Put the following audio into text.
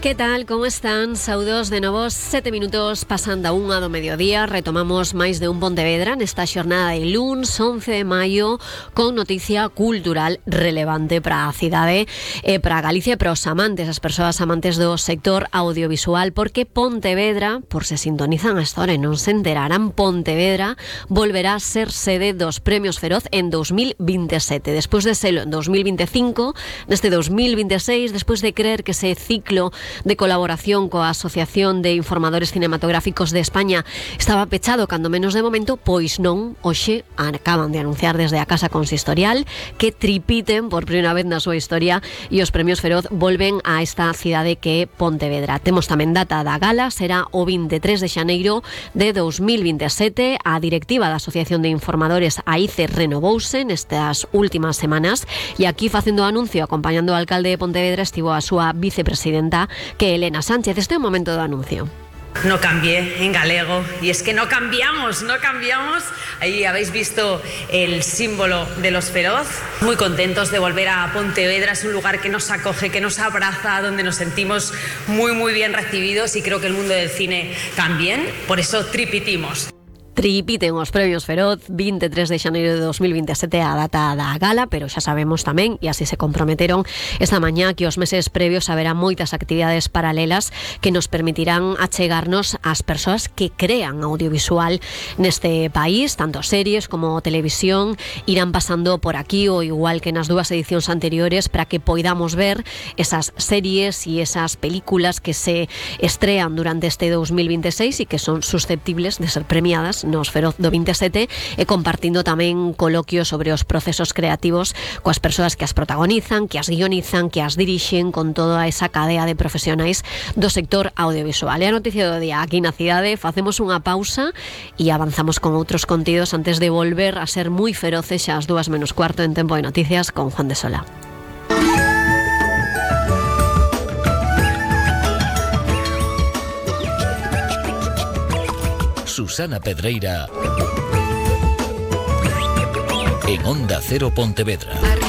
Que tal, como están? Saudos de novo, 7 minutos pasando a 1 do mediodía. Retomamos máis de un Pontevedra nesta xornada de luns 11 de maio con noticia cultural relevante para a cidade e para Galicia e para os amantes, as persoas amantes do sector audiovisual, porque Pontevedra, por se sintonizan a esta hora e non se enterarán, Pontevedra volverá a ser sede dos Premios Feroz en 2027. Despois de selo en 2025, neste 2026, despois de creer que ese ciclo de colaboración coa Asociación de Informadores Cinematográficos de España estaba pechado, cando menos de momento, pois non. Hoxe acaban de anunciar desde a Casa Consistorial que tripiten por primeira vez na súa historia e os Premios Feroz volven a esta cidade que é Pontevedra. Temos tamén data da gala, será o 23 de xaneiro de 2027. A directiva da Asociación de Informadores AICE renovouse nestas últimas semanas e aquí facendo o anuncio, acompañando o alcalde de Pontevedra, estivo a súa vicepresidenta, que Elena Sánchez. Este é o momento do anuncio. No cambié en galego y es que no cambiamos. Ahí habéis visto el símbolo de los Feroz. Muy contentos de volver a Pontevedra, es un lugar que nos acoge, que nos abraza, donde nos sentimos muy bien recibidos y creo que el mundo del cine también, por eso tripitimos. Tripiten os Premios Feroz, 23 de xaneiro de 2027 a data da gala, pero xa sabemos tamén, e así se comprometeron esta mañá, que os meses previos haberá moitas actividades paralelas que nos permitirán achegarnos ás persoas que crean audiovisual neste país, tanto series como televisión, irán pasando por aquí, o igual que nas dúas edicións anteriores, para que poidamos ver esas series e esas películas que se estrean durante este 2026 e que son susceptibles de ser premiadas nos Feroz do 27, e compartindo tamén coloquios sobre os procesos creativos coas persoas que as protagonizan, que as guionizan, que as dirixen, con toda esa cadea de profesionais do sector audiovisual. E a noticia do día aquí na cidade, facemos unha pausa e avanzamos con outros contidos antes de volver a ser moi feroces xa ás 2:15 en Tempo de Noticias con Juan de Sola. Susana Pedreira en Onda Cero Pontevedra.